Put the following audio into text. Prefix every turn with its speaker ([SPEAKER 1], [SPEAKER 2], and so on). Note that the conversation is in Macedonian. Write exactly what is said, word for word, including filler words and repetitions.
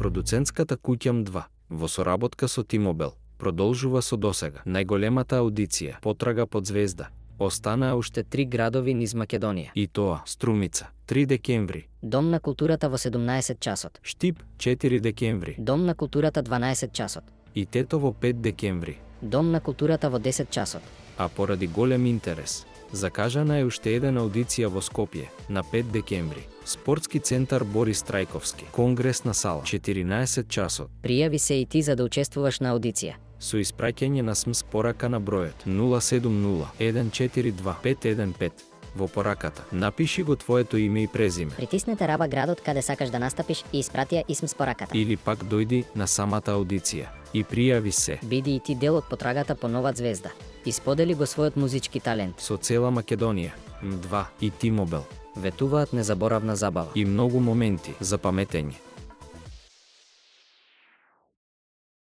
[SPEAKER 1] Продуцентската куќа М два, во соработка со T-Mobile, продолжува со досега најголемата аудиција Потрага под звезда. Останаа уште три градови низ Македонија. И тоа: Струмица, три декември.
[SPEAKER 2] Дом на културата во седумнаесет часот.
[SPEAKER 1] Штип, четири декември.
[SPEAKER 2] Дом на културата дванаесет часот.
[SPEAKER 1] И Тетово, пет декември.
[SPEAKER 2] Дом на културата во десет часот.
[SPEAKER 1] А поради голем интерес, закажана е уште една аудиција во Скопје на пет декември. Спортски центар Борис Трајковски, Конгресна сала, четиринаесет часот.
[SPEAKER 2] Пријави се и ти за да учествуваш на аудиција.
[SPEAKER 1] Со испраќање на СМС порака на бројот нула седум нула еден четири два пет еден пет. Во пораката напиши го твоето име и презиме.
[SPEAKER 2] Притиснете раба градот каде сакаш да настапиш и испрати ја исм пораката.
[SPEAKER 1] Или пак дојди на самата аудиција и пријави се.
[SPEAKER 2] Биди и ти дел од потрагата по нова звезда. Исподели го својот музички талент.
[SPEAKER 1] Со цела Македонија, М два и T-Mobile
[SPEAKER 2] ветуваат незаборавна забава
[SPEAKER 1] и многу моменти за паметење.